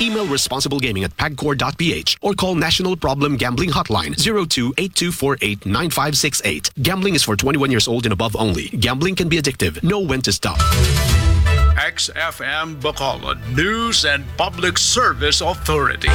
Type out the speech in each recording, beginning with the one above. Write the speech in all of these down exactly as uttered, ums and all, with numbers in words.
Email responsiblegaming at pagcor dot p h or call National Problem Gambling Hotline zero two eight two four eight nine five six eight. Gambling is for twenty-one years old and above only. Gambling can be addictive. Know when to stop. X F M Bacolod News and Public Service Authority.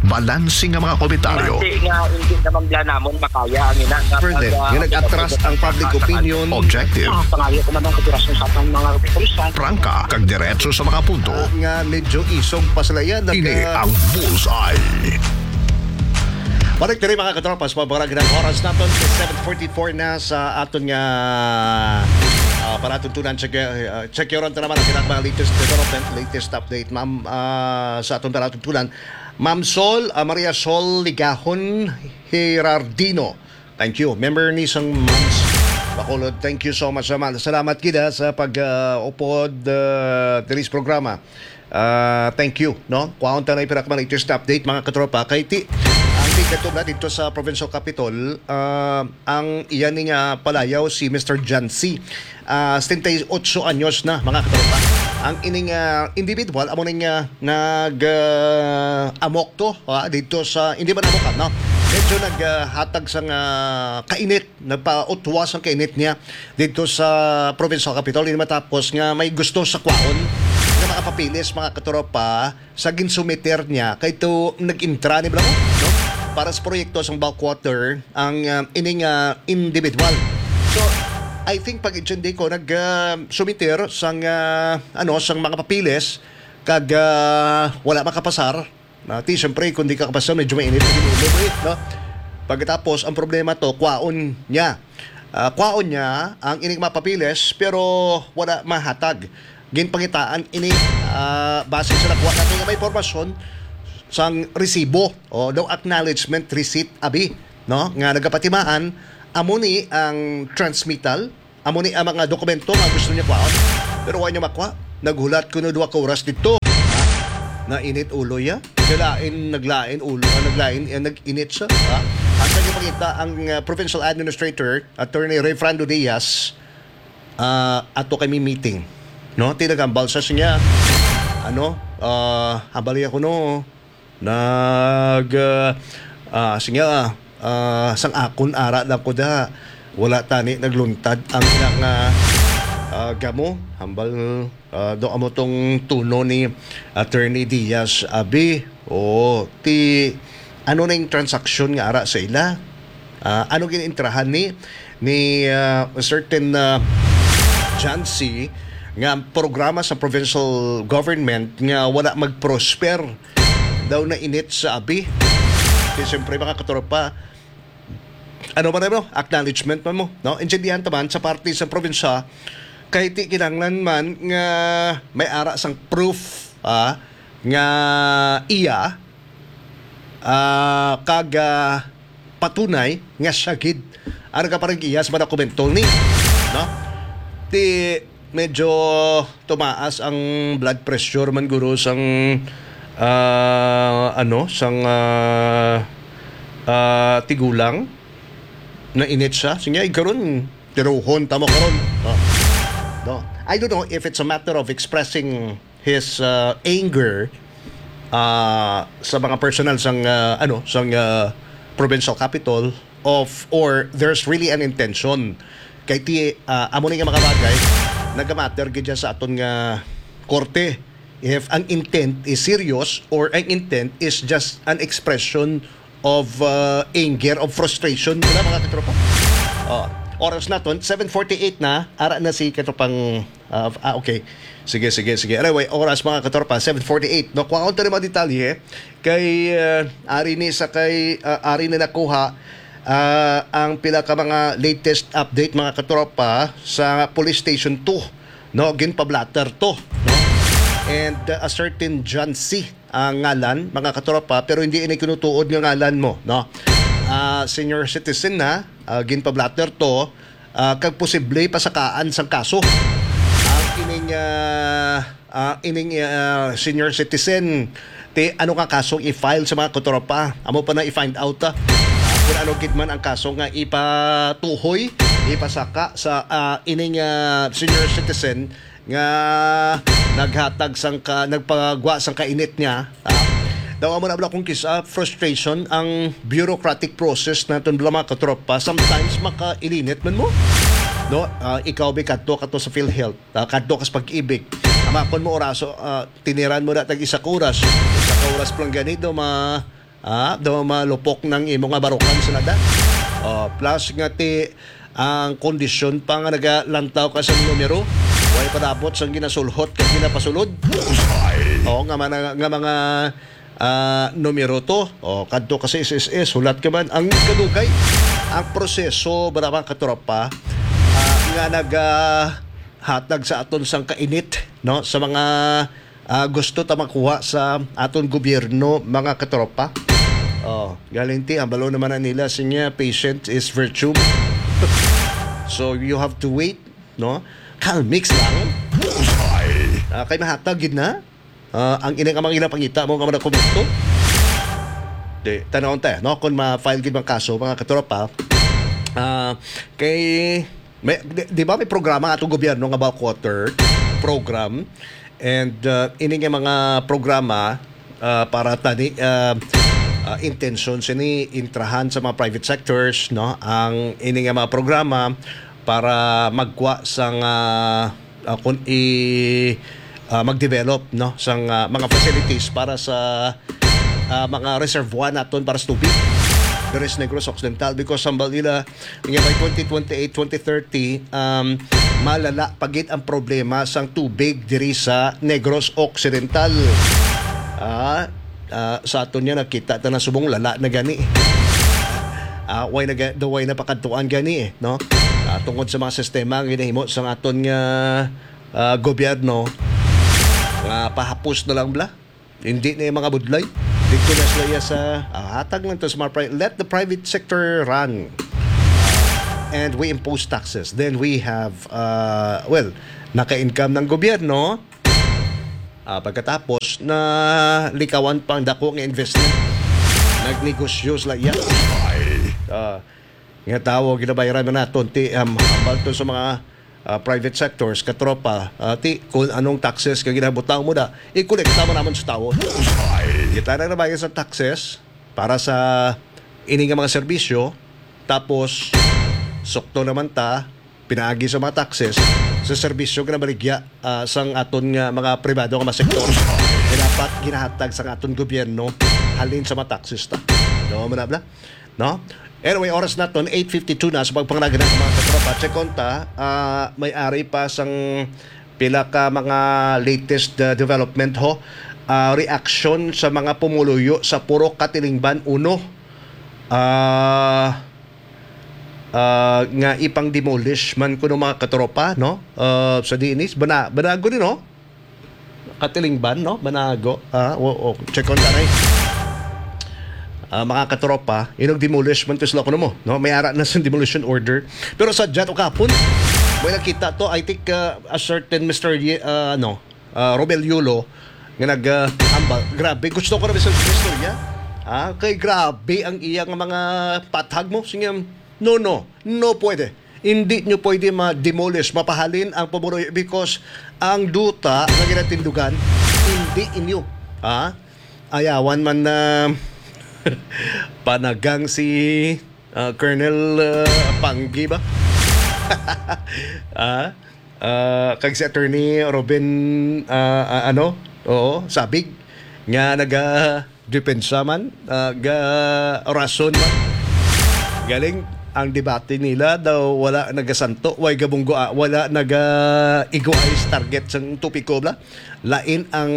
Balanse nga mga komentaryo. Hindi nga, hindi naman bla namon makaya ang ina nga Further, pag, ah, nga nag-atras ang public opinion. Objective. Ah, pangayo ko man ang kooperasyon sa atong mga kapulisan. Prangka, kag diretso sa mga punto. Ah, nga medyo isog pa sila yan. Ini ang Bullseye. Balik diri, mga katropas, pabarag ng oras naton sa seven forty-four na sa aton nga, ah, palatuntunan. Check, ah, check yun naman ang ilang mga latest development, latest update, ma'am, ah, sa aton palatuntunan. Ma'am Sol, ah, Maria Sol Ligahon Gerardino. Thank you. Member ni sang Moms Bacolod. Thank you so much, ma'am. Salamat gid, ah, sa pag, ah, upod, ah, diri sa programa. Ah, thank you, no? Kuhaon ta na yung pinakamaliteres na update, mga katropa. Kay ti, ang tigkatubla dito sa Provincial Capitol, ah, ang iyan ni nga palayaw si Mister John C. Ah, setenta y ocho anyos na, mga katropa. Ang ining, ah, individual, amo ning, ah, nag, ah, amok to, ah, dito sa, hindi man amok, ah, no? Medyo nag, ah, hatag sang, ah, kainit, nagpautwas ang kainit niya dito sa provincial capital. Hindi matapos nga may gusto sa kwaon nga mga papeles, mga katropa, sa ginsumiter niya kay to nag-intra ni Blanco, no? Para sa proyekto sang bulk water ang, ah, ining, ah, individual. So, I think pag intindi ko nag, ah, sumiter sang, ah, ano, sang mga papeles kag, ah, wala makapasar. Na, ti, siyempre, kung di ka kapasar, medyo mainit pa din ulo mo, eh, no? Pagkatapos, ang problema to, kwaon niya. Ah, kwaon niya ang ining mga papeles, pero wala mahatag. Ginpangitaan ini, ah, base sa nakuha nato nga may impormasyon sang resibo o daw acknowledgement receipt, abi, no, nga nagapatimaan, amo ni ang transmittal, amo ni ang mga dokumento nga gusto niya kwaon, pero wa niya makuha. Naghulat kuno duha ka oras dito. Nainit ulo ya. Naglain, naglain ulo, ah, naglain, eh, nag-init siya, ha? Ang sa ipakita ang, ah, provincial administrator, Attorney Rayfrando Diaz, ah, ato kami meeting. No? Tinagambal sa siya, ano, ah, hambali ako, no? Nag, ah, ah, sige, ah, ah, sang akon ara lang ko da. Wala tani nagluntad ang ilang, ah, ah, gamo. Hambal, ah, do amo tong tuno ni Attorney Diaz, abi. O, ti, ano na yung transaksyon nga ara sa ila? Ah, ano ginaintrahan ni, ni, ah, certain, ah, John C nga programa sa provincial government nga wala mag-prosper daw na init sa abi. Kaya siyempre, mga katropa, ano man, ano, acknowledgement man mo, no? Intindihan ta man sa parte sa probinsya, kay ti kinahanglan man nga may ara sang proof, ah, nga iya, ah, kag, ah, patunay nga siya gid ang nagaparag-iya sa mga dokumento ni, no? Ti medyo tumaas ang blood pressure man guro sang, ah, ano, sang, ah, ah, tigulang. Nainit siya. Sige, ay, karon, tiruhon tamo karon. Oh. No. I don't know if it's a matter of expressing his, uh, anger, uh, sa mga personnel sang, uh, ano, sang, uh, provincial capital of, or there's really an intention. Kay ti, uh, amo ni nga mga bagay, nagamatter gid siya sa aton nga korte. If ang intent is serious or ang intent is just an expression of, uh, anger, of frustration, wala, mga katropa. Oh, oras naton, seven forty-eight na, ara na si katropang, uh, ah, okay. Sige, sige, sige. Anyway, oras, mga katropa, seven forty-eight. No, kuha ko tayo mga detalye. Kay, uh, ari ni sa kay, uh, ari na nakuha, uh, ang pila ka mga latest update, mga katropa, sa Police Station two. No, ginpablatter to, no? And, uh, a certain John C ang ngalan, mga katropa, pero hindi ini kinutuod nga ngalan mo, no? Ah, senior citizen na, ah, ginpablatter to, ah, kag posible pasakaan sang kaso. Ang ining, ah, ah, ining, ah, senior citizen, ti ano nga kaso i-file sa mga katropa? Amo pa na i-find out, ah, kung ano gid man ang kaso nga ipatuhoy, ipasaka sa, ah, ining, ah, senior citizen nga naghatag sang ka, nagpagwa sang kainit niya. Ah, daw amo na bala kung kisa frustration ang bureaucratic process naton bala, mga katropa. Sometimes makailinit man mo. No, ah, ikaw bi kadto, kadto sa PhilHealth, ah, kadto ka sa Pag-ibig. Amakon mo oraso, ah, tiniran mo na tag isa ka oras. Isa ka oras pa lang gani, daw ma, ah, daw malupok nang imo nga barukan sa nada. Oh, plus nga ti ang kondisyon pa nga nagalantaw ka sa numero, way padapot sang ginasulhot kag ginapasulod. Oh, nga mga, nga mga, ah, numero to. Oh, kadto ka sa S S S, hulat ka man. Ang kadugay, ang proseso, mga katropa, ah, nga nag, ah, hatag sa aton sang kainit, no, sa mga, ah, gusto ta makuha sa aton gobyerno, mga katropa. Oh, galing ti, ang balo naman na nila, sinya, patient is virtue. So, you have to wait, no? Calmix lang. Ah, kay mahatag gid na. Ah, ang ining amang ginapangita mo nga mga komento. Di, tanawon ta, no? Kung ma-file gid ang kaso, mga katropa. Ah, kay, may, di, di ba may programa atong gobyerno nga bulk water program? And, ah, ini nga mga programa, ah, para tani, ah, ah, intention sini intrahan sa mga private sectors, no? Ang ini nga mga programa para magkuha sang, ah, ah, kun i, ah, mag-develop, no, sang, ah, mga facilities para sa, ah, mga reservoir naton para sa tubig diri sa Negros Occidental, because hambal nila nga by twenty twenty-eight, twenty thirty, um, malala pa gid ang problema sang tubig diri sa Negros Occidental. Ah, ah, sa aton nga nakita ta na subong lala na gani. Ah, way na ga-, daw way na pakadtuan gani, eh, no? Ah, tungod sa mga sistema nga ginahimo sa aton nga, ah, gobyerno, nga pahapos na lang bala. Hindi na yung mga budlay. Dito na sila iya sa, ah, hatag lang to sa mga pri-, let the private sector run. And we impose taxes. Then we have, uh, well, naka-income ng gobyerno. Ah, pagkatapos, na likawan pang dako nga investment. Nagnegosyo sila iya. Ah, nga tawo, ginabayaran na naton ti, um, hambal to sa mga, ah, private sectors, katropa, ah, ti, kung anong taxes nga ginabutang mo na, ikolekta mo naman sa tawo. Kita na nabayad sa taxes para sa ini nga mga serbisyo, tapos sukto naman ta, pinaagi sa mga taxes, sa serbisyo nga nabaligya, ah, sang aton nga mga pribado nga mga sektor, nga dapat ginahatag sang aton gobyerno halin sa mga taxes ta. No, manabla? No? Anyway, oras naton, eight fifty-two na sa pagpanganagan ng mga katropa. Check on ta, ah, may ari pa sang pila ka mga latest, ah, development ho. Ah, reaction sa mga pumuluyo sa Purok Katilingban uno. Ah, ah, nga ipang-demolish man kuno, mga katropa, no? Ah, sa diin is, bana-, banago ni, no? Katilingban, no? Banago. Ah, o, o, check on tanay. Ah, mga katropa, inog demolish man to sila kuno mo, no? May ara na sa demolition order. Pero sa jat o kapon, may nakita to, I think, ah, a certain Mister Ye-, ah, ano, ah, Romel Yulo, nga nag, ah, ambal. Grabe, gusto ko na sa istorya. Ah, kay grabe ang iya nga mga pathag mo. Sige, no, no, no pwede. Hindi nyo pwede ma-demolish, mapahalin ang pumuloy because ang duta nga ginatindugan, hindi inyo. Ah, ayawan man na panagang si, ah, Colonel, ah, Panggi ba? Ah, ah, kag si Attorney Robin, ah, ah, ano? Oo, Sabig nga naga depensa man, ah, ga rason man. Galing ang debate nila daw wala nagasanto, way gabunggo, ah, wala naga-egoize target sang topiko bla. Lain ang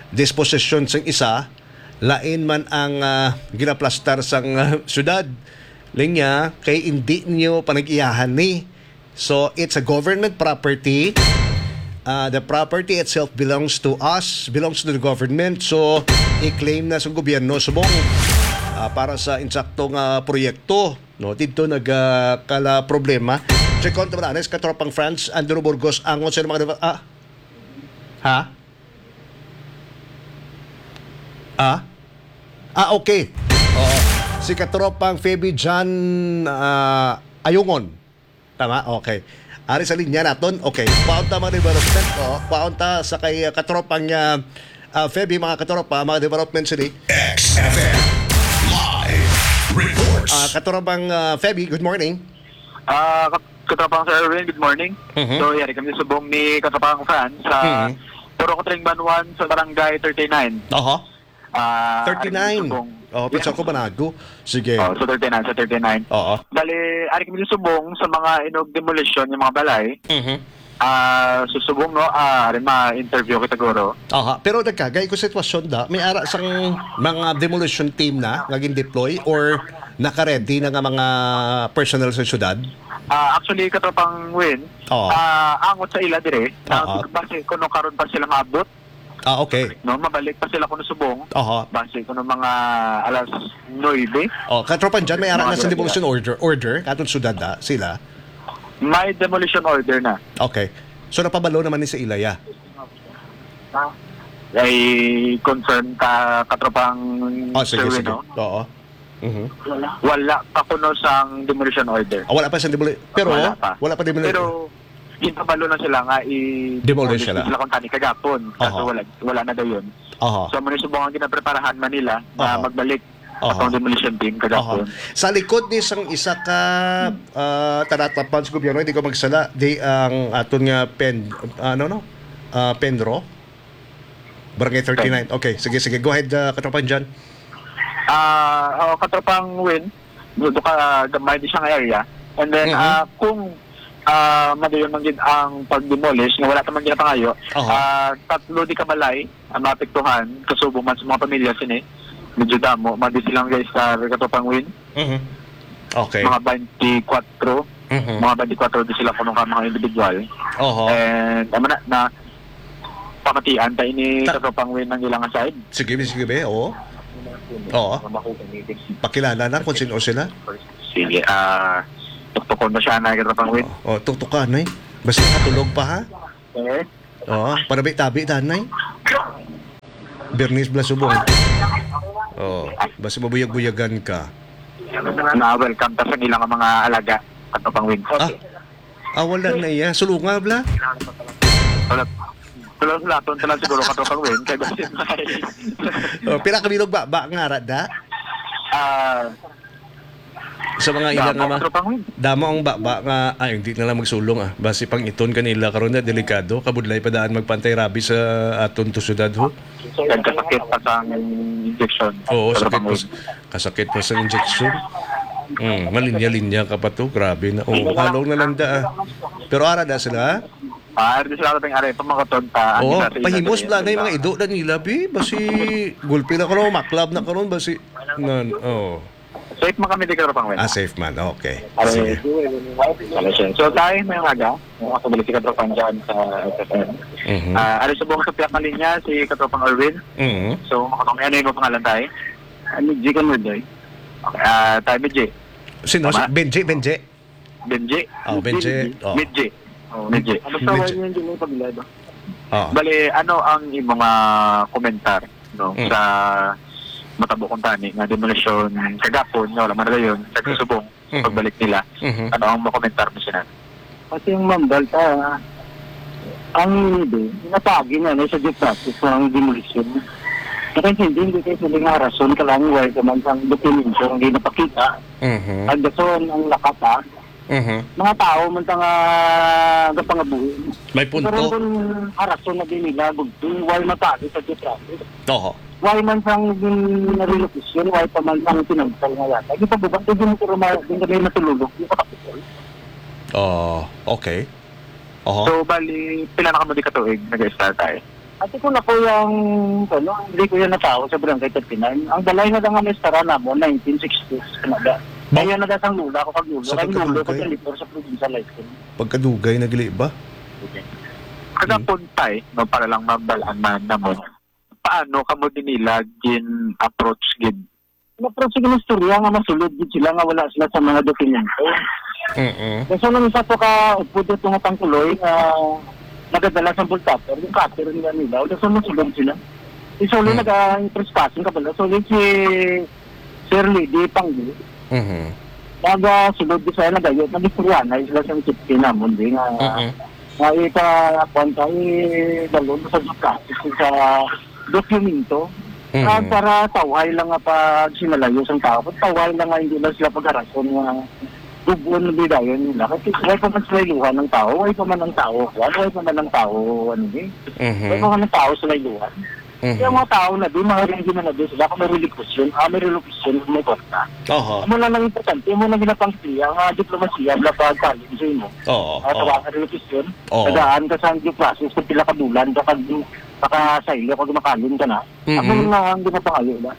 disposition sang isa, lain man ang, ah, ginaplastar sang, ah, syudad. Linya, kay indi niyo panag-iyahan ni. So, it's a government property. Uh, the property itself belongs to us, belongs to the government. So, i-claim na sa gobyerno subong, ah, para sa insakto nga proyekto, no? Dito nagkala problema. Check on naman, Anes, katropang Franz, Andrew Burgos, angon sa mga, ah, ha? Ah? Ah, okay. Oo. Si katropang Feby Jan, ah, Ayungon. Tama? Okay. Ari sa linya naton. Okay. Paunta mga development. Oh, paunta sa kay, uh, katropang, uh, uh, Feby, mga katropa, mga development sini. X F M Live Reports. Ah, katropang, uh, Feby, good morning. Ah, kat-, katropang Sir Erwin, good morning. Mhm. So, yari kami subong ni katropang Franz sa Mhm. Purok Tring Banwan sa Barangay thirty-nine. Oho. Ah, Thirty-nine. Ari kami subong. Oh, pizza Yeah. ko banago. Sige. Oh, so thirty-nine, sa thirty-nine. Oo. Bali, ari kami subong sa mga inog demolition yung mga balay. Mhm. Ah, susubong, no? Ah, ari ma-interview kita, guro. Aha, pero nagkagay ko sitwasyon da, may ara sang mga demolition team na nga gin-deploy or naka-ready na nga mga personnel sa syudad? Ah, actually, katropang Win, Oo. ah, angot sa ila dire, na Oo. basi kuno karon pa sila maabot. Ah, okay. No, mabalik pa sila kuno subong. Aha. Basi kuno mga alas nuebe. Oh, katropang Jan, may ara Mga na sa ganun demolition order, order, katong syudad da, sila? May demolition order na. Okay. So, napabalo naman ni sa ila, ya? Ay, confirm ka, katropang Oh, sige, Sir Win, sige. no? Oo. Mhm. Wala pa kuno sang demolition order. Ah, wala pa sang demoli-, pero Wala pa. wala pa demoli-, Pero, ginpabalo na sila nga i-, Demolish demolish sila. sila kung tani kagapon. Kaso Aha. wala, wala na dayon. Aha. So, amo ni subong ang ginapreparahan man nila na Aha. magbalik Aha. atong demolition team Aha. kagapon. Sa likod ni sang isa ka, ah, talatapan sa gobyerno, hindi ko magsala, di ang aton nga pen-, ano, no? Ah, Penro? Barangay thirty-nine. Okay, sige, sige. Go ahead, ah, katropang Jan. Ah, oo, katropang Win, do ka gamay di siya nga area. And then, Mhm. ah, kung, ah, madayon man gid ang pag-demolish, nga wala ta man ginapangayo, Aha. ah, tatlo di ka balay ang maapektuhan, kasubo man sa mga pamilya sini. Medyo damo, madi silang guys sa katropang Win. Mhm. Okay. Mga twenty-four, Mhm. mga twenty-four di sila kuno ka mga individual. Oho. And, amo na, na pamatian ta ini Ta- sa Tropang Win ang ilang side. Sige, be, sige, be, oo. Oo. Pakilala lang kung sino sila. Sige, ah, tuktukon mo siya na, Tropang Win. Oo, tuktukan, eh. Basta katulog pa, ha? Eh? Oo, panabi-tabi, tanay. Bernice Blasubong. Oh, basi mabuyag-buyagan ka. Na-welcome ta sa ilang mga alaga, Katropang Win. Ah, ah, wala na iya. Sulunga, bla? Wala. Wala, wala. Ton, tanan siguro, Katropang Win. Kay basi may Oh, pila ka bilog ba, ba nga ara da? Ah, Sa mga ila Damo nga ang ma-, tropang win. Damo ang baba nga, ay, hindi na lang magsulong, ah. Basi pang iton kanila karon na delikado, kabudlay pa daan magpantay rabi sa aton to syudad, ho. Nagkasakit pa sa injection. Oo, Sa sakit pa tropang s-, win. Kasakit pa sa injection. Hmm, malinya-linya ka pa to, grabe na. Oh, halong na lang da, ah. Pero ara da sila, ah. Ah, di sila ating are, pamakaton ta, ang Oo, isa sa ila pahimos dali, bla na yung mga diba? Ido na nila, bi. Basi, gulpi na karon, maklab na karon, basi, nan, oh. Safe man kami di Katropang Win. Ah, safe man. Okay. Are, Sige. Wala siya. So, tayo may umaga. Yung mga kabalik si Katropang dyan sa F F M. Mhm. Ah, are subong sa pihak na linya, si Katropang Erwin. Mhm. So, makakamay, ano yung pangalan tayo? Ah, Midji ka, Midji. Okay, ah, tayo, Midji. Sino? Tama? Si Benji, Benji? Benji. Oh, Benji. Benji. Oh. Benji. Oh, Benji. Ano sa wala yung Jimmy Paglado? Oh. Bali, ano ang imong, ah, komentar, no, Mm. sa matabo kung tani nga demolition kagapon nga wala man dayon sa Mm. kasubong sa Mm. pagbalik nila? Mhm. Ano ang makomentar mo sina? Kasi yung mambal pa, ang hindi, natagi na, no, sa due process ang demolition. Kasi hindi, hindi kayo sila nga rason ka lang, wala ka man sang dokumento, hindi napakita. Mhm. Ang dason, ang lakata, Mhm. mga tao man ta nga gapangabuhi. May punto. Pero kung harason na din nila, gugtong, why matali sa due process? Oho. Why man sang relocation, why pa man sang pinagpal nga yata? Di pa ba, di mo ko rumaya, di kami matululog, di pa kapitol. Oh, okay. Oho. So, bali, pila na kamo di katuig nag-start tayo? Ate ko na po yung, ano, hindi ko yan natao sa barangay thirty-nine. Ang balay na lang ang estara namo, nineteen sixties, ano ba? Ba- Kaya na sang lula ko, pag lula, Sa kay lula ko pagkadugay? Sa Lipor sa probinsya, like, Pagkadugay na gali ba? Kagapon, tay, no, para lang mabalaan man namon, paano kamo din nila gin-approach gid? Na-approach sa istorya nga masulod gid sila nga wala sila sa mga dokumento. Mm-mm. Kasi nung isa po ka upod ito nga tangkuloy nga nagadala sa bultator, yung cutter nila nila, wala sa masulod sila. Isulod Mm. nag-, ah, trespassing ka pala. So, si Sir Lady Panggi, Mhm. Naga sulod di sa nagayo, nagistoryahanay sila sa safety namon, di nga, Mm-mm. nga ika-, kwan ka, idalon sa justice sa dokumento. Mm. Ah, para tawhay lang nga pagsimalayo sang tao, tawhay lang nga hindi lang sila pagharason nga gubon na bidayon nila. Kasi wala pa man sila iluhan ng tao, wala pa man ang tao, wala pa man ang tao, ano ni? Mhm. Wala pa man ang tao sila iluhan. Mhm. Kaya mga tao na di, mga hindi man na di sila, kung may relocation, ah, may relocation, may kwarta. Oho. Amo na lang importante, amo na ginapangsiya, nga diplomasiya, wala pa galing sa imo. Oo, Ah, oo. Tawagan relocation, Oo. Tagaan ka sa due process, kung pila ka bulan, baka, baka sa ilo, pag makalin ka na. Amo Mm-mm. na ang ginapangayo ba?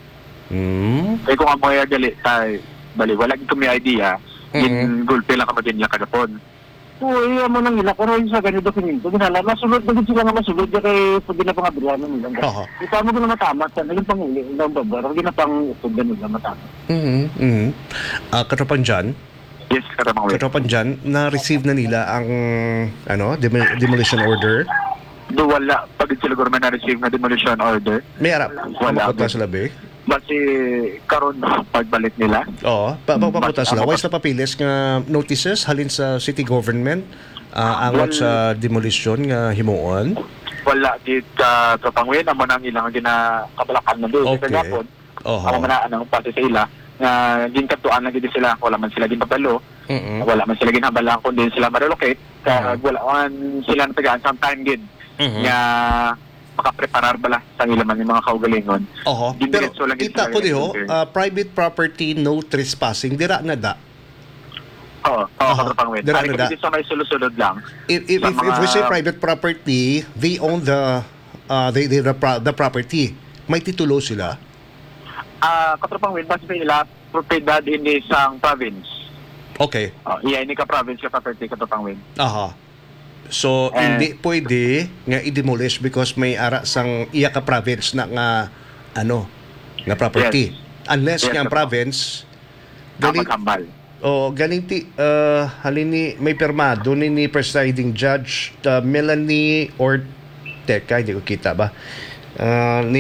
Mm. Eh, kung amo ya gali, tay, bali, wala gid kami idea, Mm-mm. gin-gulpi lang kamo din niya kagapon. Oo, eh, amo nang ila, pero yung sa ganito, dokumento, ginala, masulod na gid sila nga masulod, ya kay pag ginapangabrihan na nila. Aha. Ito mo gina matamat, sa naging panguli, ang babar, ginapang-upod na nila matamat. Mm-mm. Mm-mm. Ah, Katropang John? Yes, Katropang Will. Katropang John, na-receive na nila ang, ano, demo-, demolition order? Do, wala pa gid sila, guro, may na-receive nga demolition order. May ara, Wala, makot na wala. sila, be? Basi karon pagbalik nila. Oo, pa, pa, Basi pakot na sila. ang Wala sila papilis nga notices halin sa city government, ah, angot Wal- sa demolition nga himuon? Wala gid, Katropang Will, amo na ang ilang ginakabalakan na doon sa Okay. gahapon. Oho. Amo man na ang pati sa ila nga ginkadtuan na gid sila, wala man sila ginpabalo, Mm-mm. wala man sila ginhambal kundi sila ma-relocate, kag Mhm. wala man sila natagaan sang time gid Mhm. nga makapreparar bala sa ila man yung mga kaugalingon. Oho. Pero Diretso lang gid kita sila ko diho, nag-enter. ah, private property, no trespassing. Dira na da. Oo, oo, Oho. Katropang Win. Dira Ari na ko da. Dito sa may sulod-sulod lang. If, if, Sa if, if we say mga private property, they own the, ah, they, they, the, pro-, the property. May titulo sila. Ah, Katropang Win, base sa ila, propiedad ini sang province. Okay. Oh, iya, ini ka province ka property, Katropang Win. Aha. So, Eh. hindi pwede nga i-demolish because may ara sang iya ka province na nga, ano, nga property. Yes. Unless Yes, nga ang Katropang. province, Ah, galing, maghambal. Oh, galing ti, ah, halin ni, may pirmado ni, ni presiding judge, ah, Melanie Orteca, hindi ko kita ba? Ah, ni